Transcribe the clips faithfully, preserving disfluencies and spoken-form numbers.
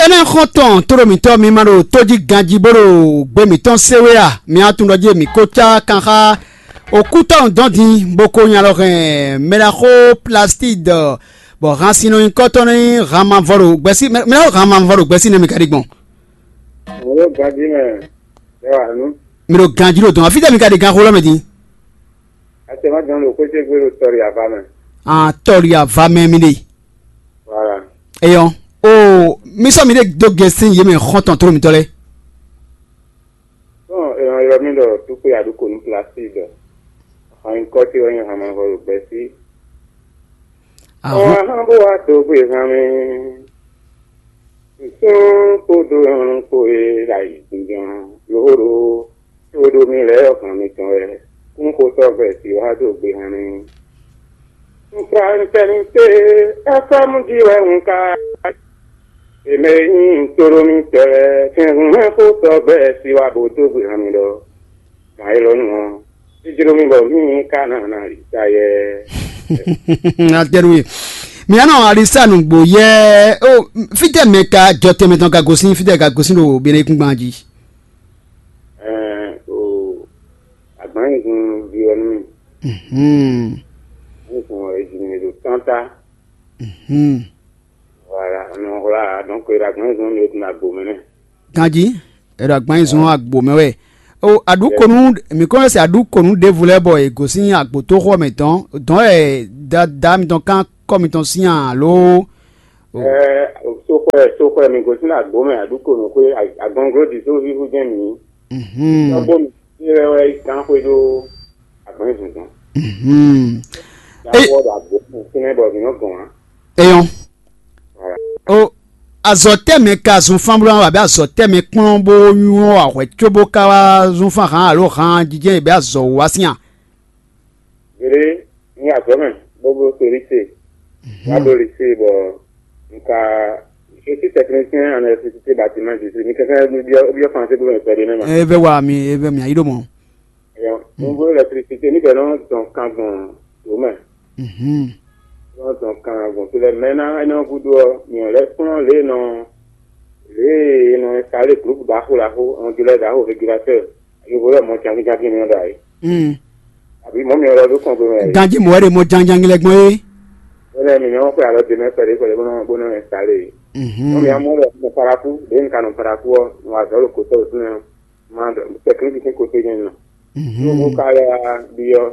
Énɛ́ xɔ́ntɔn tóɖo mǐtɔn mi ma ɖo tójí ganjí bó ɖo gbé mǐtɔn sé wé a? Mi atún ɖɔ jí mǐ ko cá kan xá okútɔ́ dɔn din bó ko nya lɔ hɛn mɛɖaxó plastide bɔ han sin nɔ nyí kɔ́tɔ́ ní han mavɔ ɖo gbɛ́sí mɛɖaxó han mavɔ ɖo gbɛ́sí nɛ mi ka ɖi gbɔn. Wǒ ganjí mɛ, ɛ wà nú. Mi ɖo ganjí ɖo dɔn afítɛ mi ka ɖi ganxó lɔ mɛ din. Atɛmá dɔn ɖo xwéjégbé ɖo tɔ́ɖi ava mɛ. An tɔ́ɖi ava mɛ mi ɖe. Voilà. Eyɔ o mi sɔ mi ɖe dó gɛ́sín yě mɛ xɔ́ntɔn tló mitɔ́ lɛ́ɛ. Bɔn èèyàn ylɔ́ mì ɖɔ dúkpé aɖúkò nú plastique ɖɔ hɔn nyikɔ ce wɛ nyí hama vɔ ɖo gbɛ́sí. Ahɔn. Ɔ́ hán bó wá dó gbé hán mì. Nsún kpódó nyɔ̌nu kpó e ɖo ayǐjínjɔ́n lóhóɖó tó ɖó mì lɛ́ɛ ɔ́ hɔn mitɔn wɛ kún xotɔ́ gbɛ si wá dó gbe hɔn mì. Nfranitɛnite Efrayímu jí wɛ un ka e mɛ e nyí ntolómitɔ́ lɛ́ɛ kɛnhún mɛ xotɔ́ gbɛ si wá bó dó gbe hɔn mì ɖɔ gǎn élɔ́ nu ɔ́, jijló mì bɔ mì ka ná ná yi ta yɛ. Atɛnue. Mǐ nɔ alisa nǔgbó yɛ o fítɛ́ mɛ ka jɔ tɛnmɛ tɔn ka gosín fítɛ́ ka gosín ɖo Benɛkúngban jí. Ɛɛ o agbanyɛgun ví ɔ́ nú mì. Mhm. Ní kun ejimi ɖo tanta. Mhm. Voilà, nɔ hwlá donc e ɖo agbanyɛgun mi ɖo tun agbo mɛ nɛ. Ganjí, e ɖo agbanyɛgun agbo mɛ wɛ. O aɖukonu mi kɔn se aɖukonu ɖěvo lɛ́ɛ bɔ è gosín agbotóxɔ mɛ dɔn dɔn ɛ da da mitɔn kan kɔ mitɔn sín alo. Ɛɛ soxɔɛ soxɔɛ mi gosín agbo mɛ aɖukonu xwé agɔnglo ɖi tó híhú jɛ́n mi. Mhm. Tɔgbo mi ti lɛ wɛ gán xwé ɖó agbɔnzɔnzɔn. Mhm. Yàwó ɖo agbo fún fínɛ́ bɔ mǐ nɔ gɔn ǎ. Eyɔn. Voilà. O azɔ tɛmɛ ka zun fán bó wá bɛ azɔ tɛmɛ kplɔn bó nywɔ ahwɛ có bó ka wá zun fán hàn alo hàn jijɛ bɛ azɔ wá sín a. Gbeɖé ní azɔ̌ mɛ bó bló to lycée. Wá bló lycée bɔ un ka je suis technicien en électricité bâtiment district mi kɛkɛ byɔ́ byɔ́ français bó mɛ pɛɖé nɛ ma. Ebe wa mi ebe mi ayi ɖo mɔ. Ɛyɔ, un bló électricité ní bɛ nɔ dɔn kan gbɔn dǒ mɛ. Mhm. Nɔ dɔn kan gbɔn to lɛ mɛ ná ɛnɛ gúdo ɔ mi ɔ lɛ kplɔ́n lě nɔ lě nɔ installé groupe ɖaxó ɖaxó, on dirait ɖaxó régulateur. Yovo lɛ mɔ jangijangi mi ɖo ayi. Mm. Àbí mɔ mi lɔ ɖo kɔn gbe mɛ. Ganji mɔ wɛ ɖe mɔ janjangi lɛ gbɔn é. Bónɛ mi nyɔmɔ xwe alɔ de mɛ kpɛɖé kpɛɖé bónɔ bónɔ installé. Mhm. Mɔ mi amɔ lɛ nɔ paraku ɖe nka nɔ paraku ɔ nɔ azɔ ɖo kotɔ ɖo súnɛ ma technique sin kote nyɛ nɔ. Mhm. Nɔ ka lɛ ɖi ɔ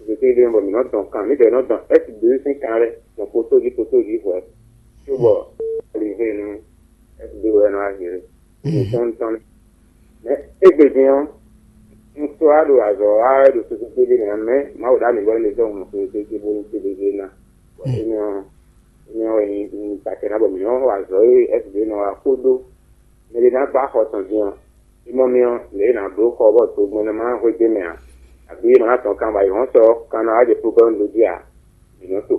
zete ɖe bɔ mi nɔ dɔn kan mi dɛ nɔ dɔn ɛsi de sin kan lɛ nɔ koto di koto di hwɛ. Tó bɔ ali hɛ nu ɛsi de wɛ nɔ azere. Mhm. Tɔn tɔn. Mɛ égbé din ɔ́, un sɔ́ wá ɖo azɔ̌ wa wɛ ɖo sese kpéɖé mɛ ǎ, mɛ Mawu ɖo amǐ bɔ é lɛ́ zɔ́n mɔ sese kpéɖé bónú kpéɖé ná. Bɔ énɛ́ ɔ́, énɛ́ ɔ́ wɛ nyí un ta kɛ ná bɔ mǐ nɔ́ wa azɔ̌ e S D nɔ wa kpódó mɛ ɖé ná gbá xɔ tɔn din ɔ́, é mɔ mì ɔ́, lě e è nǎ bló xɔ bɔ togbɛn nɔ ma ná hwedó mɛ ǎ, abǐ è ma ná tɔn kan bɔ ayǐhɔ́n sɔ kan ná wá jɛ problème ɖó jí ǎ, mǐ nɔ́ to.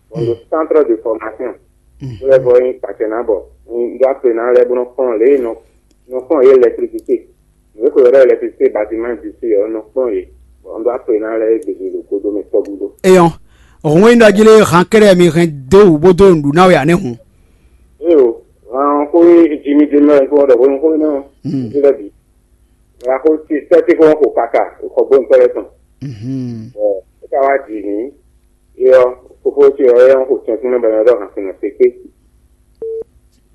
Bɔ un ɖo centre de formation, bó lɛ́ vɔ nyí kpacɛ ná bɔ un ɖó akpe ná lɛ́ɛ bó nɔ́ kplɔ́n lě e nɔ nɔ kplɔ́n yě électricité. Nǔ e ko ylɔ́ ɖɔ électricité bâtiment d'ici ɔ́ nɔ kplɔ́n yě, bɔ un ɖó akpe ná lɛ́ɛ gěgé ɖo godomɛ tɔgúdo. Eyɔn, òhun e ɖɔ jí lé han kɛ́ɖɛ́ mi hɛn dó wǔ bó dó nǔɖuɖu ná we ǎ nɛ́ hǔn. Éyo, han xó e Jimmy Demel kó ɖɔ hwenu xó énɛ́ ɔ́, ìdí lɛ́ bǐ. Wǎ xó ce sɛ́ ce kó xo kaka xɔ gbóntɔ́ lɛ́ɛ tɔn. Bɔ é ka wá jǐ n'i, é ɔ́, fofó ce ɔ́ é ɔ́ xo tɛ́nkún mɛ bɔ é nɔ ɖɔ han sinɔ sekpé.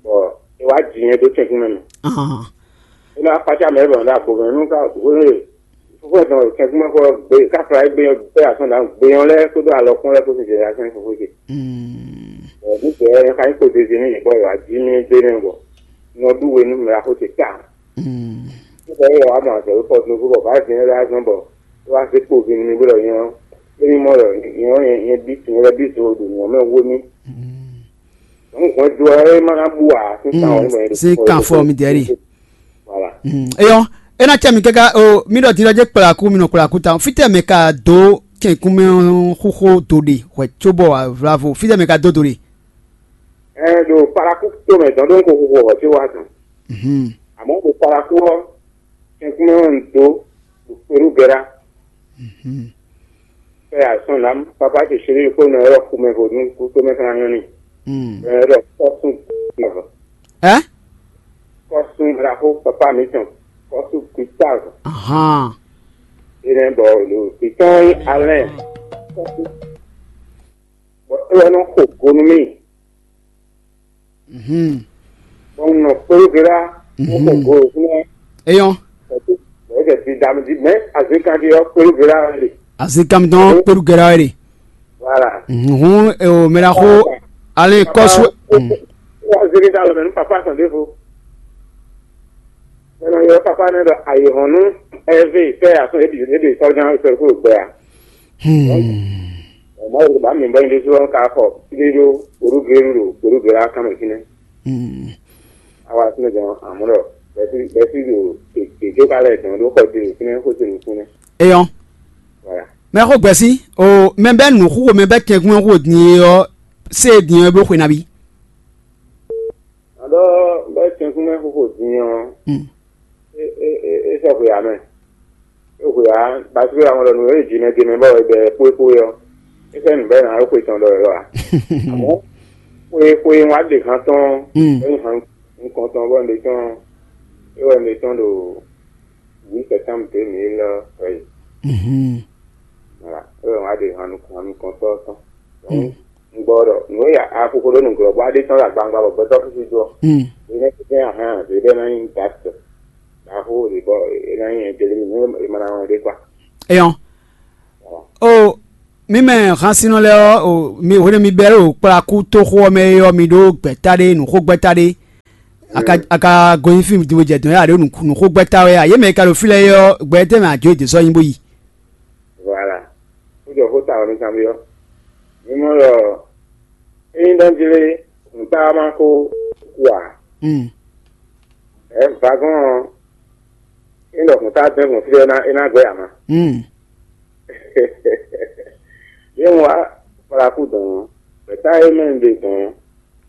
Bɔ é wá jǐ nyɛ dó tɛ́nkún mɛ mɛ. É ná kpácá mɛ bɔ é nɔ ɖo agbo mɛ nú ká hwéhwé. Fofó ɛ tɔn tɛ́nkún mɛ xɔ gbé ká fla é gbé gbé asɔn ɖǎ gbé nyɔ lɛ́ɛ kpódó alɔkún lɛ́ɛ kpó sin jɛ asɔn fofó ce. Bɔ nú jɛ ɛ ka nyí kpo zeze nú yě bɔ é wá jí mì gbé nɛ bɔ nɔ ɖú we nú mɛ axó ce ta. Nígbà yìí wàá mọ àgbẹ̀ wípé ọdún gbogbo ọ̀gá ìdílé lásán bọ̀ tó wá sí kpòkè ní gbọ́dọ̀ yan émi mọ́ lọ yan yẹn bí tún lọ bí tún odò ní ọmọ ẹ̀wọ́ mi. Òun kàn ju ẹ má ná bú wa sí kan ọ̀hún mọ̀ ẹ́. Sí kan fọ mi dẹ́rì. Voilà. Eyɔ ena cɛ mi kaka o mi ɖɔ ti ɖɔ dze kplaku mi nɔ kplaku ta fitɛ mɛ ka do kɛnkun mɛ xóxó do ɖe hwɛ tso bɔ vlavo fitɛ mɛ ka do do ɖe. Ɛ ɖo paraku tó mɛ dɔn ɖó ń kó xóxó ɔ̀hún tí wàá dùn. Àmọ́ ɖo paraku ɔ́, kɛnkun mɛ ɔ́ ń dó ɖo kpéɖú gɛ́ɖá. Fɛ azɔn lam papa ce chéri kó nɔ ylɔ́ xomɛ vo nú kútomɛ fana nyɔ́ n'i. Nɔ ylɔ́ kɔ́sún nɔ. Ɛ? Kó papa mǐtɔn kɔ́sú Gustave. Ahan. Énɛ́ bɔ ɖo Gustave nyí Alain. Bɔ é wɛ nɔ xo go nú mì. Mhm. Bɔ un nɔ kpéɖó gbe ɖá, bó xo go ɖo fínɛ́. Eyɔn. Bɔ é jɛ didanu jí, mɛ̌ azikán jí ɔ́, kpéɖó gbe ɖá wɛ ɖe. Azikán mitɔn kpéɖó gbe ɖá wɛ ɖe. Voilà. Mhm. Hǔn, o mɛ ɖaxó, ale kɔ́sú. Wá zé ní ɖó alɔ mɛ nú papa tɔn ɖěvo. Mɛ nɔ ylɔ́ papa nɛ́ ɖɔ ayǐhɔ́n nú Ɛvée fɛ́ asɔ́ é ɖi é ɖi sɔ́ján sɔ́ kúrò gbɛ a. Hmm. Mɔ̌ ɖo bǎ mi bɔ nyi ɖésú ɔ́ ka xɔ fíɖé ɖó Porúgénu ɖo Porúgé lá kán mɛ fínɛ́. Hmm. Awa fínɛ́ dɔn amɔ̌ ɖɔ bɛ́sí bɛ́sí ɖo gěgé ka lɛ́ dɔn ɖó xɔ dé fínɛ́ xó se nukúnnɛ́. Eyɔn. Voilà. Mɛ xó gbɛ̌sí, o mɛ bɛ́ nǔ xúxo mɛ bɛ́ tɛnkwín ɔ́ xúxo din e ɔ́, sé e din ɔ́ é bló xwe nabí? Aɖɔ bɛ́ tɛnkwín mɛ xúxo din ɔ́, Hmm. é é é é sɔ́ xwe ǎ mɛ. É xwe ǎ, basi xwe ǎ mɔ ɖɔ nǔ e jǐ mɛ din mɛ bɔ è bɛ xwé xwé ɔ́, é sɛ́ nǔ bɛ́ ná ɖó xwe tɔn ɖɔ wɛ lɔ ǎ. Àmɔ́ xwe xwe wá ɖe han tɔn, Hmm. é nyí han nukɔn tɔn bɔ un ɖe tɔn, é wɛ un ɖe tɔn ɖo huit septembre deux mille treize. Mhm. Voilà, é wɛ wá ɖe han nukɔn han nukɔntɔ́ tɔn. Donc, Mm. Un gbɔ ɖɔ nǔ e ya a xixo ɖó nǔglɔ́ bɔ a ɖe tɔ́n ɖo agbawungba bɔ gbɛtɔ́ xixi dó ɔ́, Mm. é nɛ́ kɛ́n ahán zě ɖé ná nyí dǎtɔ ɖaxó ɖě bɔ é ná nyí ɛjɛlímì nú è ma ná wɔn ɖé kwa. Eyɔn. O mi mɛ hansinɔ lɛ́ɛ ɔ́, o mi hwenu mi bɛ́ ɖo kplakú toxo ɔ́ mɛ é ɔ́, mi ɖó gbɛ̌ta ɖé, nǔxógbɛ́ta ɖé. A ka Mm. a ka gɔn nyi fí mi din bó jɛ dɔ̌n yá ɖó nǔxógbɛ́ta wɛ a? Yě mɛ e ka ɖo fí lɛ́ɛ é ɔ́, gbɛ tɛ́ mɛ a jó yě dó sɔ́ nyi bó yi? Voilà. Kújɔ xó ta ɔ́ nú kanbyɔ́. Mi mɔ ɖɔ ényí ɖɔ jlé nǔta ma ko ku ǎ. Mm. Ɛ vagɔn ɔ́, ényí ɖɔ nǔta dɛn gbɔn fí é ná é ná gbɛ ama. Mm. Yé wá kplakú dɔn ɔ́, gbɛ̌ta e mɛ un ɖe dɔn ɔ́,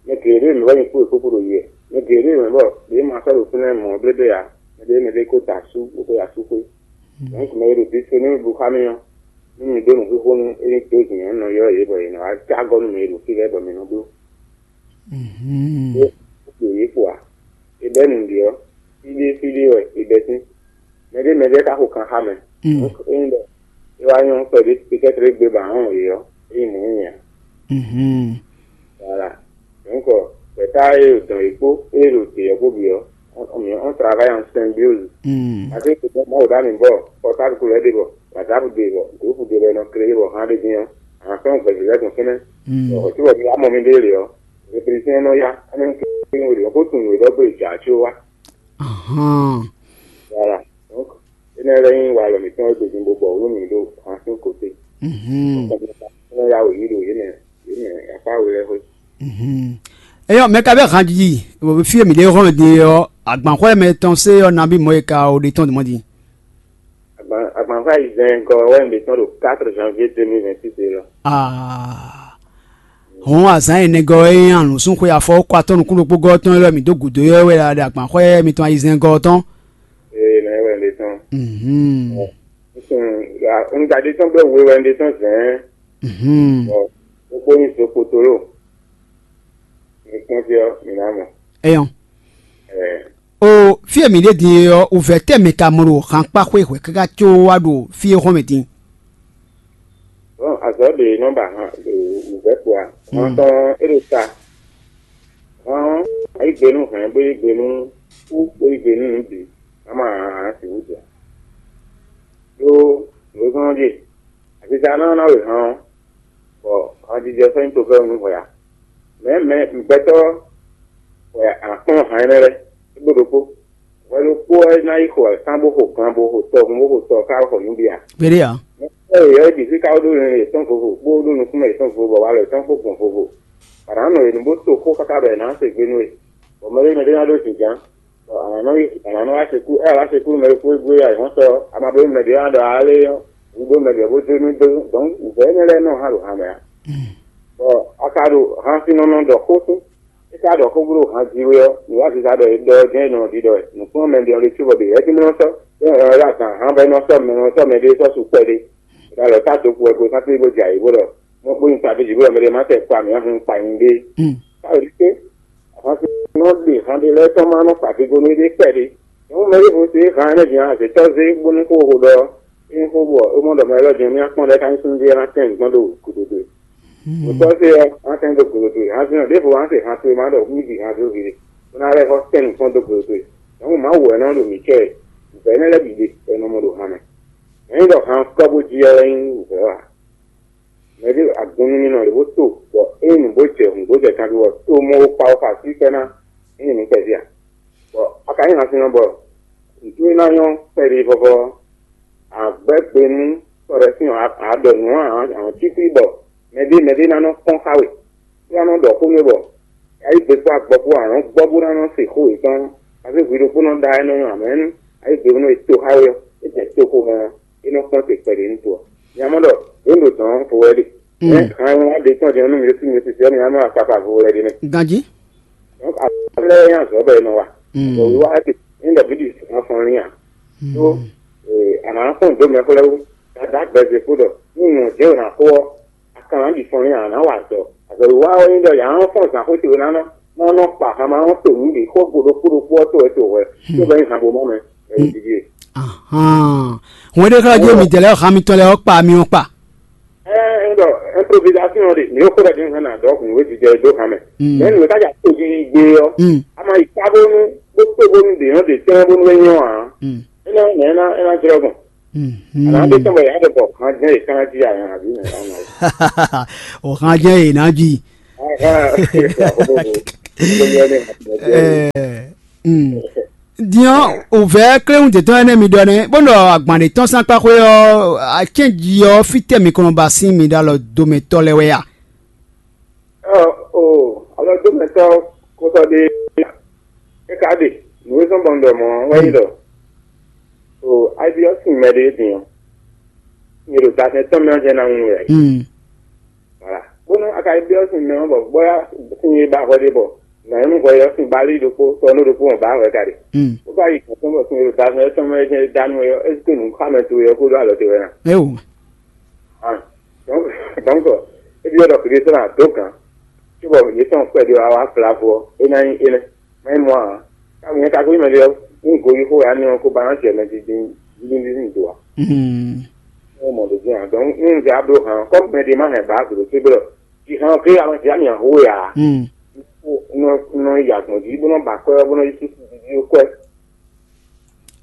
mɛ geɖé mɛ wɛ nyí kpó e kpókpó ɖo yi wɛ. Mɛ geɖé mɛ bɔ ɖě ma sɔ́ ɖo fínɛ́ mɔ̌ blébé ǎ. Mɛ ɖé mɛ ɖé ko da asú bó ko yi asú xwé. Donc mɛ e ɖo disponible xá mì ɔ́, nú mi ɖó nǔxixo nú é ní dó zǐn ɔ́, un nɔ ylɔ́ yě bɔ yě ná wá cá gɔ́ nú mɛ e ɖo fí lɛ́ɛ bɔ mi nɔ bló. Mhm. Ɖó ɖo yě kpo ǎ. È bɛ́ nǔɖé ɔ́, fíɖé fíɖé wɛ è bɛ́ sín. Mɛɖé mɛɖé ka xo kan xá mɛ. Mm. Donc ényí ɖɔ é wá nyɔ́ kpɛɖé pétɛ́trɛ́ gbe ba hɔn yě ɔ́, é nyí mɔ̌ nyɛ ǎ. Mhm. Voilà. Donc gbɛ̌ta e ɖo dɔn yě kpó e ɖo te ɔ́ kpó bǐ ɔ́, on, on, on travaille en symbiose. Mm. Parce que Mawu ɖo ami bɔ portable ko lɛ́ ɖe bɔ WhatsApp ɖe bɔ groupe ɖe bɔ è nɔ créé bɔ hán ɖé dín ɔ́, a nǎ fɛ́n gbɛ̌ lɛ́ɛ gbɔn fínɛ́. Mm. Bɔ hwɛ̌ cóbɔ mi wá mɔ mi ɖe lě ɔ́, réfléchir nɔ yá, énɛ́ kí wǒ ɖe ɔ́ kó tunwun wě ɖɔ gbé jà có wá. Ahan. Voilà. Donc énɛ́ lɛ́ nyí walɔ mǐtɔn e gbědín bó bɔ wǔ nú mǐ ɖo han sín kotɛ. Mhm. Énɛ́ yá wǒ yí ɖo yě mɛ yě mɛ afá we lɛ́ɛ xwé. Mhm. Eyɔn mɛ ka bɛ han jiji fí e mǐ ɖe hɔn din ɔ́, agbanxwɛ mɛ tɔn se ɔ́ nabí mɔ e ka o ɖe tɔn dɔn din. Agbanxwɛ ayizɛ́n gɔ wɛ mǐ tɔn ɖo quatre janvier deux mille vingt-six é lɔ. Ah. Hɔn azǎn enɛgɔ e nyi anǔsúnxwe afɔ kɔ atɔ́ nukún ɖokpó gɔ́ tɔn e wɛ mǐ dó gǔdo ɔ́ wɛ ɖo agbanxwɛ mitɔn ayizɛ́n gɔ́ tɔn. Ee, mɛ wɛ ɖe tɔn. Mhm. Un ɖaɖe tɔn gbɛ we wɛ ɖe tɔn zɛ̌n. Mhm. Bɔ gbogbo nyi zokpotolo. Mi kpɔ́n fí ɔ́, mi ná mɔ. Eyɔn. Ɛɛ. O fí e mǐ ɖe din e ɔ́, wǔvɛ́ tɛ́ mɛ ka mɔ ɖo hankpáxwé hwɛ̌ káká có wá ɖo fí e hɔn mɛ din? Bɔn azɔ̌ ɖe nɔ ba han ɖo wǔvɛ́ kpo a? Hɔn tɔn é ɖo ta. Hɔn ɔ́, a yí gbe nú hɛ̌n, bó yí gbe nú kú, bó yí gbe nú nǔ bǐ. A ma hǎn hǎn sixú jɛ. Ɖó nǔ e gɔ́n ɔ́ ɖíe, aziza ná ná we hɔn ɔ́, bɔ hanjijɛ sɔ́ nyí tofɛ́nú nú hwɛ ǎ. Mɛ̌ mɛ gbɛtɔ́ wɛ a nǎ kplɔ́n han énɛ́ lɛ́ɛ? É ɖó ɖokpó. Hwɛ ɖokpó wɛ ná yi xo wěkan bó xo gan bó xo tɔhun bó xo tɔ ká xɔ nǔ bǐ ǎ. Kpéɖé ǎ. Mɛ e yɔ é bǐ fí ká ɖó nǔ yětɔn vovo, bó ɖó nukúnmɛ yětɔn vovo, bɔ walɔ yětɔn kpó gbɔn vovo. Bɔ a nǎ nɔ yě nu bó to xó káká bɔ è nǎ se gbe nú we. Bɔ mɛ ɖé mɛ ɖé ná ɖó jǐnján, bɔ a nǎ nɔ yi a nǎ nɔ wá se kú, ɛ wá se kú mɛ ɖokpó e gbé ayǐhɔ́n sɔ, a ma bló mɛ ɖě wá ɖɔ alé ɔ́, un ɖó mɛ ɖě bó dó nú dó, dɔ̌n nǔvɛ́ énɛ́ lɛ́ɛ nɔ hán ɖo han mɛ ǎ. Bɔ a ka ɖo han sín nɔ nɔ ɖɔ xó sín. É ka ɖɔ xó bló han jí wé ɔ́, nǔ wá sisa ɖɔ é ɖɔ ɔ́ jɛ́n è nɔ ɖiɖɔ wɛ. Nǔkplɔ́nmɛ ɖe ɔ́ ɖésú bɔ ɖě wɛ jí mlɔ́ sɔ́, é nɔ ylɔ́ azǎn han bɔ é nɔ sɔ́ mɛ, nɔ sɔ́ mɛɖé sɔ́ sukpɛ́ ɖé. È ka lɔ tá dǒkú wɛ gosán tlí bó jɛ ayǐ bó ɖɔ mɔ kpó nyi taví jǐ bó ɖɔ mɛɖé má tɛ kpa mǐ ɔ́ hun kpa nyi ɖé. Káyọ̀ ɖíké, han sín nɔ ɖe han ɖé lɛ́ɛ tɔn má nɔ kpa vigo nú éɖée kpɛɖé. Mɛ ɖěvo se hǎn ɛnɛ din azětɔ́ zé bónú xó xo ɖɔ é nyí xó bɔ é mɔ ɖɔ mɛ élɔ́ din mì akpɔ́n ɖɛ́ ká nyí súnnu ɖé ná tɛ́n gɔ́n ɖo gǔdo dó é. Mɔ̌tɔ́ se ɔ́, ná tɛ́n dó gǔdo dó é. Hǎn sin ɔ́, ɖěvo hǎn se hǎn towe má ɖɔ mì ɖi hǎn dó hwi ɖé, bó ná lɛ́ xɔ tɛ́n nǔkpɔ́n dó gǔdo dó é. Nyɔ̌nu Mawu wɛ nɔ ɖo mǐ cɛ é. Vɛ̌ énɛ́ lɛ́ɛ bǐ ɖe bɔ è nɔ mɔ ɖo hǎn mɛ. Mɛ̌ nyí ɖɔ han kɔ́ bó jí ɔ́ wɛ nyí wǔvɛ́ ɔ́ ǎ. Mɛ ɖé agun nú mì nɔ ɖě bó to, bɔ é nyí nǔ bó jɛ hǔn bó jɛ kanví ɔ́, to mɔ wo kpa wo xo así kpɛ́ ná é nyí nǔ kpɛví ǎ. Bɔ a ka nyí hansinnɔ bɔ nǔtú e ná nyɔ́ kpɛɖé vɔvɔ ɔ́, a gbɛ́ gbe nú tɔ ɖɛ̌ sín ǎ, a ɖɔ nǔ ǎ, a nɔ cí xwí bɔ mɛɖé mɛɖé ná nɔ kpɔ́n xá we, bó ná nɔ ɖɔ xó nú we bɔ a yí gbe kpó agbɔ kpó a nɔ gbɔ bó ná nɔ se xó yětɔn. A zé hwi ɖokpó nɔ ɖa énɛ́ nú amɛ̌ nú a yí gbe nú e to xá we ɔ́, é jɛ toxo mɛ ɔ́, é nɔ kpɔ́n te kpɛɖé nú to ɔ́. Nya mɔ ɖɔ yě ɖo dɔ̌n vo wɛ ɖe. Hɛn wá ɖe tɔn jɛ nú mi ɖésú mi sisi ɔ́, mi ná nɔ akpakpa vo lɛ ɖe nɛ. Ganjí. Donc, afɔ lɛ́ɛ nyí azɔ̌ bɔ è nɔ wa. Bɔ wíwá ɔ́ ti ní ɖɔ bíɖi afɔnlín ǎ. Tó, a nǎ fɔ́n dó mɛ xlɛ́ wú, dada gbɛzekpo ɖɔ ní nyɔ̌ jɛ́n ò nǎ xo ɔ́, a ka nǎ ɖi fɔnlín ǎ, a nǎ wa azɔ̌. Azɔ̌ wíwá ɔ́ nyí ɖɔ yǎ nɔ fɔ́n zǎn xó ce we ná nɔ ná nɔ kpa hama ɔ́ to nǔ ɖě xó go ɖokpó ɖokpó ɔ́ to wɛ to hwɛ, tó bɛ́ nyí han bo mɔ mɛ, ɛ ɖiɖi e. Hwɛɖéxlɔ́ jí midɛɛ lɛ́ɛ xá mitɔn lɛ́ɛ ɔ́ kpa mi ɔ́ kpa. Ɛɛ, un ɖɔ improvisation ɖe, mi ko ɖɔ din hɛn na dɔ kun we jijɛ do hame. Mɛ nu ka ja to ji gbe ɔ. Ama yi ka bonu bo to bonu de yɔn de tɛn bonu we nyɔ a. Ena ena ena jrɔ gbɔn. Ana de tɛn bɔ ya de bɔ kan jɛ kan ji a yan abi na. O kan jɛ e na ji. Diɔ o vɛ kléwún de tɔn ɛnɛ mi ɖɔ nɛ bó nɔ agban ɖe tɔn san kpa xwé ɔ, acɛn ji ɔ fítɛ mi kɔnɔ ba sín mi ɖo alɔ domɛtɔ lɛ wɛ a? Ɔ o, alɔ domɛtɔ kótɔ ɖe é ka ɖe nǔ e zɔn bɔ un ɖɔ mɔ wɛ yi ɖɔ o, ayi ɔ sin mɛ ɖe din ɔ, nyɛ ɖo dasɛn tɔn mɛ ɔ́ jɛ ná ŋu wɛ. Voilà. Bónú a ka yi byɔ́ sin mɛ ɔ́ bɔ bóyá sin e ba hwɛ ɖé bɔ nǎ nyɔ́nú hwɛ ɔ́ sin bali ɖokpó tɔnú ɖokpó hɔn ba hwɛ ka ɖe. Bó ka yi kɔn bɔ sin e ɖo da mɛ tɔn mɛ jɛ́n da nú é ɔ́, é sí nǔ xá mɛ towe ɔ́ kó ɖó alɔ towe ná. Éwo. Donc, donc, é byɔ́ ɖɔ kìlí sɔ́ ná dó gǎn. Cóbɔ yě tɔn kpɛɖé wá wá flavo ɔ́, é ná nyí énɛ́. Mɛ mɔ a, ka nyɛ ka ko yi mɛ ɖe ɔ́, un go yi xó ya nɔ ko ba ná jɛ mɛ dídí dídí dídí do a. Ɔ́ mɔ ɖo jɛ́n a, donc un zɛ ablo hàn kɔ́ mɛ ɖé má hɛn ba glo tó blɔ. Jǐ hàn ké a ma jǐ ami aho ya. Nɔ nɔ yi agbɔn jí bó nɔ ba kwɛ bó nɔ yi sísí dídí kwɛ.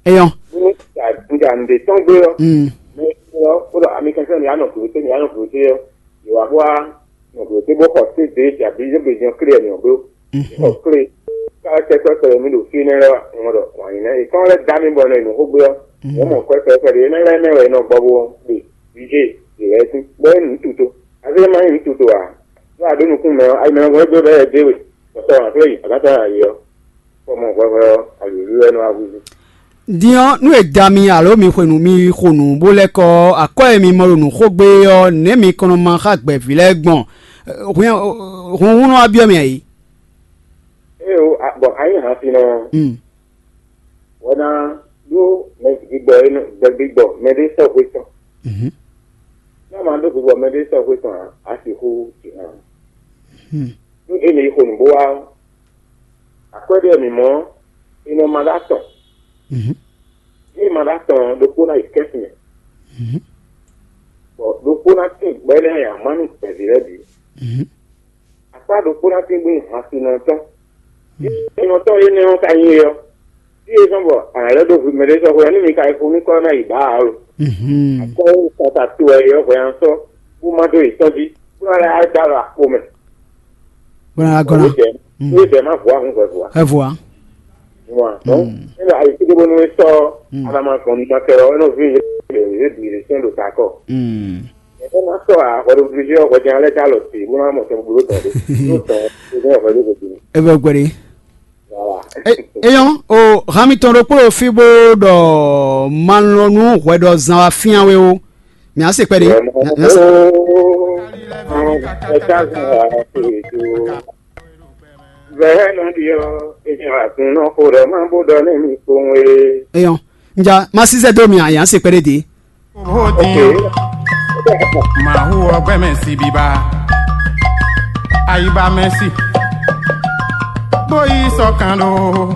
Eyɔn. Bó nɔ ja ja nǔɖé tɔn gbé ɔ́. Mɛ ɔ́ kó ɖɔ ami kɛntɛn mi anɔ glo té mi anɔ glo té ɔ́. Yǒ wá bó wá nɔ glo té bó xɔ té dě ja bí yé gbe jɛn klé ɛ mi ɔ́ bló. Xɔ klé. Ká tɛ kpɛkpɛ mi ɖo fí nɛ lɔ ŋɔ ɖɔ wǎn yi nɛ. È kán lɛ́ dá mi bɔ nɔ yi nǔ xó gbé ɔ́. Wọ́n mɔ kpɛkpɛ ɖě nɛ lɛ́ɛ mɛ wɛ è nɔ gbɔ bó ɖe vǐ jé ɖě lɛ́ɛ sín. Bɔ é nǔ tuto. Azé ma nyí nǔ tuto ǎ. Lɔ aɖó nukún mɛ ɔ́, ayi mɛ ɔ́ gbɛ́ bɛ́ ɛ dé we. Bɔtɔ ǎ klé yi àgátá ayǐ ɔ́. Kpɔmɔ hwɛhwɛ ɔ́, alǔlú wɛ nɔ wá húzú. Din ɔ́, nú è da mi alo mi xwe nǔ mi xo nǔ bó lɛ́ kɔ ɔ́, akwɛ́ e mi mɔ ɖo nǔ xo gbé ɔ́, nɛ̌ mi kɔn nɔ ma xá gbɛ̌ví lɛ́ɛ gbɔn? Hun hun nɔ wá byɔ́ mi ǎ é. Ée o, a- bɔ a nyí hansinɔ ɔ́, wɔ ná ɖó mɛ gbigbɔ e nɔ- gbɛ gbigbɔ mɛ ɖé sɔ́ hwe tɔn. Ná ma ɖó gbigbɔ mɛ ɖé sɔ́ hwe tɔn ǎ, a sixú jǐ hàn. Nú e nɔ yi xo nǔ bó wá ɔ́, akwɛ́ ɖé mǐ mɔ ɔ́, è nɔ ma ɖó atɔn. Ée ma ɖó atɔn ɔ́, ɖokpó ná yi kɛ́sin mɛ, bɔ ɖokpó ná tín gbɛ́ lɛ́ɛ nyi amǎ nú gbɛ̌ví lɛ́ɛ bǐ. Akpá ɖokpó ná tín gbé hansinɔ tɔn. Hansinɔ tɔn énɛ́ ɔ́ ka nyí é ɔ́, fí e zɔ́n bɔ a nǎ lɛ́ ɖó hwi mɛɖé sɔ́ hwe ɔ́, nú mi ka yi xo nú kɔ́ ná yi bǎ ǎ lo. Akɔ́ e kpata to wɛ é ɔ́ hwɛ ná sɔ́ bó má dó yě tɔ́n jí, bó ná lɛ́ dó alɔ akpo mɛ. Bó ná gɔ́ ná. Ní bɛ̌ má hu ahun hwɛ̌ hu ǎ. Hwɛ̌ hu ǎ. Wa. Donc, ena ayi kúndé bónú é sɔ́ alama gbɔn ní ma kɛ ɔ́, é nɔ ví yě yě bǐ lě sɛn ɖo ta kɔ. Ɛ má sɔ́ a hwɛ ɖo vivizí ɔ́ hwɛ jɛn alɛ dá lɔ tě bó ná mɔ tɔn gblo tɔn ɖé. Ló tɔn ó ní hwɛ ɖó gbèdé. Ebe gbɛɖe. Voilà. Eyɔn o hami tɔn ɖokpó ɖo fí bó ɖɔ malɔnu hwɛ ɖɔ zan wa fían we o. Mǐ á se kpɛɖé. Mǐ á se. Vɛ̌ nɔ ɖi ɔ́, è jɛ agun nɔ xo ɖɔ má bó ɖɔ nú mi kpowun é. Eyɔn, nja má sísɛ dó mi a yǎn se kpɛɖé dě. Vodin. Mawu ɔgbɛ mɛ si biba. Ayiba mɛ si. Boyi sɔkan ɖo.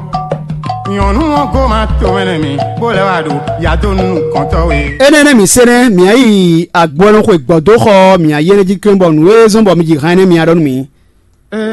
Nyɔnu ɔ́ goma tomɛ nɛ mi, bó lɛ́ wá ɖo yado nukɔntɔ́ we. Énɛ́ nɛ́ mǐ se nɛ́, mǐ yi agbɔnɔxwe gbɔ̌dóxɔ ɔ́, mǐ yi énɛ́ jí klɛ́n bɔ nǔ e zɔ́n bɔ mi ji hɛn énɛ́ mi ɖɔ nú mǐ.